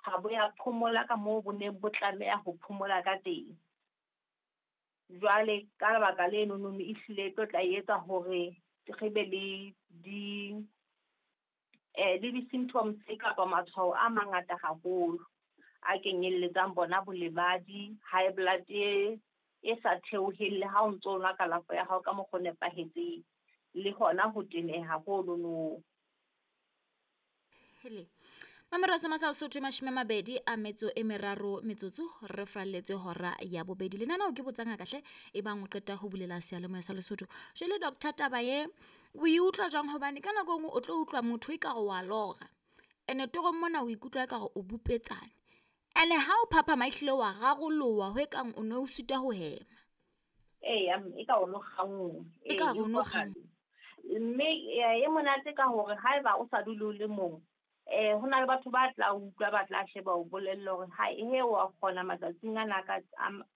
ha bo ya phomola ka moo bo neng bo tlameha ho phomola ka teng. Jwale ka lebaka lenono ehlile e tlo tla etsa hore re be le di le di-symptoms kapa matshwao a mangata haholo a kenyelletsang bona bolebadi, high blood e sa theoheng le ha o ntso nwa kalafo ya hao ka mokgwa o nepahetseng, le hona ho teneha honono. Hele. Mamero sa masal Sotho 23 metsotso re fralletse hora ya bobedi. Lenaneo ke botsanga kahle e bang o qeta ho bulela seyalemoya sa Lesotho. Jwale Doctor taba ye o e utlwa jwang hobane ka nako e nngwe o tlo utlwa motho e ka re wa lora. Ene torong mona o ikutlwa e ka re o bupetsane. Ene ha o phaphama ehlile wa raroloha ho ekang o ne o sitwa ho hema. Eya, e ka o no kganngwe. E ka re o no kganngwe. Mme e monate ka hore haeba o sa dule o le mong, ho na le batho ba tla utlwa, ba tla sheba o bolelle hore ha he wa kgona matsatsing ana ka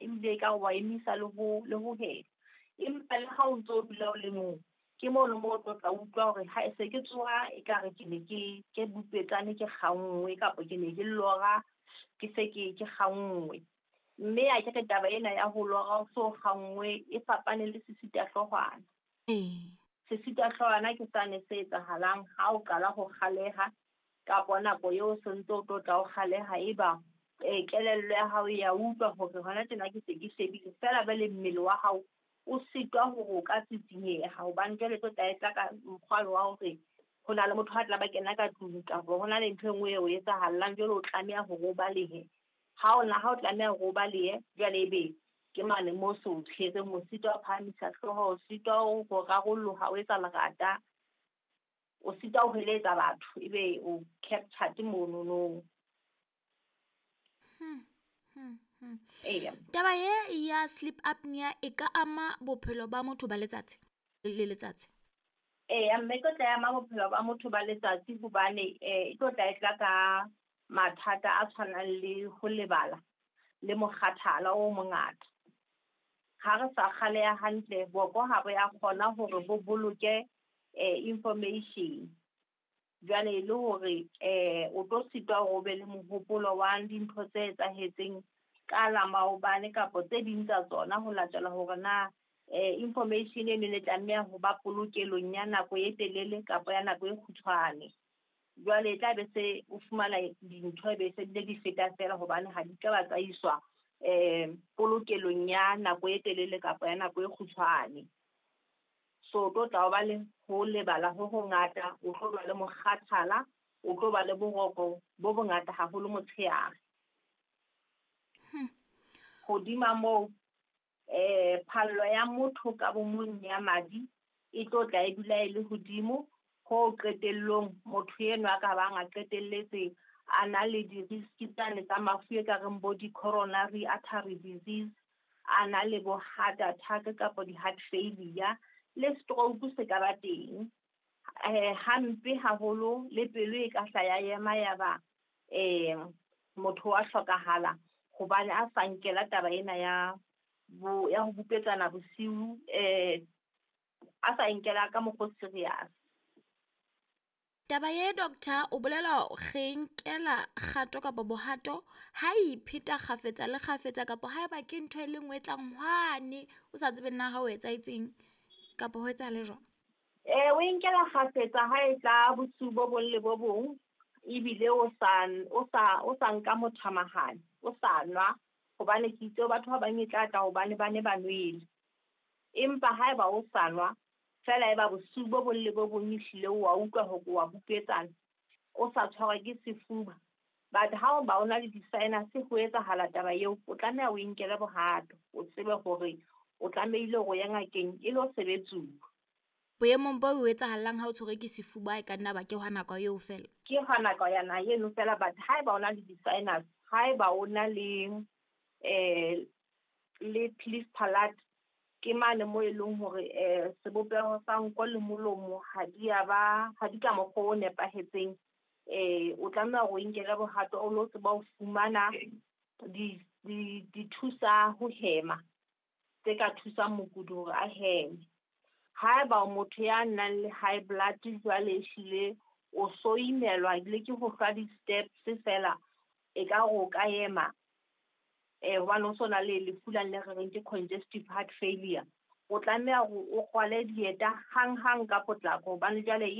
ebile ka wa emisa le ho hema. Empa le ha o ntso dula o le mong, ke mono moo o tlo tla utlwa hore ha se ke tsoha ekare ke ne ke bupetsane ke kganngwe kapa ke ne ke lora ke se ke kganngwe. Mme a ke re taba ena ya ho lora o so kganngwe e fapane le sesitahloohwana. Sesitahloohwana ke sane se etsahalang ha o qala ho kgaleha kapa nako eo o sentse o tlo tla o kgaleha eba kelello ya hao ya utlwa hore hona tjena ke se ke shebile feela jwale mmele wa hao o sitwa hore o ka tsitsinyeha hobane jwale tlo tla e tla ka mokgwa wa hore ho na le motho a tla ba kena ka tlung kapa ho na le ntho e nngwe eo etsahallang jwale o tlameha hore o balehe. Ha o na ha o tlameha hore o balehe jwale ebe ke mane moo so o tshwereng, o sitwa ho phahamisa hlooho, o sitwa ho rarolloha, o etsa lerata, o sitwa ho heletsa batho ebe o captured monono. Eya. Taba ye ya sleep apnea e ka ama bophelo ba motho ba letsatsi le letsatsi? Eya, mme e tlo tla ama bophelo ba motho ba letsatsi hobane e tlo tla e tla ka mathata a tshwanang le ho lebala le mokgathala o mongata. Ha re sa kgaleha hantle, boko ha bo ya kgona hore bo boloke information. Jwale le hore o tlo sitwa hore o be le mohopolo wa dintho tse etsahetseng ka la maobane kapa tse ding tsa tsona ho latela hore na information e ne le tlameha ho ba polokelong ya nako e telele kapa ya nako e kgutshwane. Jwale e tla be se o fumana dintho e be se bile di feta feela hobane ha di ka ba tsa iswa polokelong ya nako e telele kapa ya nako e kgutshwane. So o tlo tla ba le ho lebala ho hongata, o tlo ba le mokgathala, o tlo ba le boroko bo bongata haholo motshehare. Hodima moo phallo ya motho ka bomong ya madi e tlo tla e dula e le hodimo ho qetellong motho enwa a ka bang a qetelletse a na le di-risk tsane tsa mafu e ka reng bo di-coronary artery disease, a na le bo heart attack kapa di-heart failure le stroke se ka ba teng. Hampe haholo le pelo e ka hla ya ema ya ba motho wa hlokahala hobane a sa nkela taba ena ya ho bupetsana bosiu, a sa nkela ka mokgwa o serious. Taba ye doctor o bolela re nkela kgato kapa bohato ha ipheta kgafetsa le kgafetsa kapa haeba ke ntho e le nngwe e tlang hwane o sa tsebe nna ha o etsahetseng kapa ho etsahala jwang? O nkela kgafetsa ha e tla bosiu bo bong le bo bong ebile o sa nka mothamahane, o sa nwa hobane ke itse batho ba bang e tla tla hobane ba ne ba nwele. Empa haeba o sa nwa fela eba bosiu bo bong le bo bong ehlile wa utlwa hore wa bupetsana, o sa tshwarwa ke sefuba. But ha o ba o na le di-sinus ho etsahala taba eo, o tlameha o inkele bohato, o tsebe hore o tlamehile hore o ye ngakeng e lo sebetsuwa. Boemong bo o etsahalang ha o tshwerwe ke sefuba e ka nna ba ke hwa nako eo fela? Ke hwa nako yana eno fela, but haeba o na le di-sinus, haeba o na le le cleft palate, ke mane mo e leng hore sebopeho sa nko le molomo ha di a ba ha di ka mokgwa o nepahetseng, o tlameha hore o inkele bohato o lo tseba ho fumana di thusa ho hema tse ka thusang mokudi hore a heme. Haeba o motho ya nang le high blood jwale ehlile o so imelwa le ke ho hlwa di-steps fela, E ka re o ka ema, hobane o so na le lefu lane le re reng ke congestive heart failure. O tlameha hore o rwale dieta hang-hang ka potlako hobane jwale.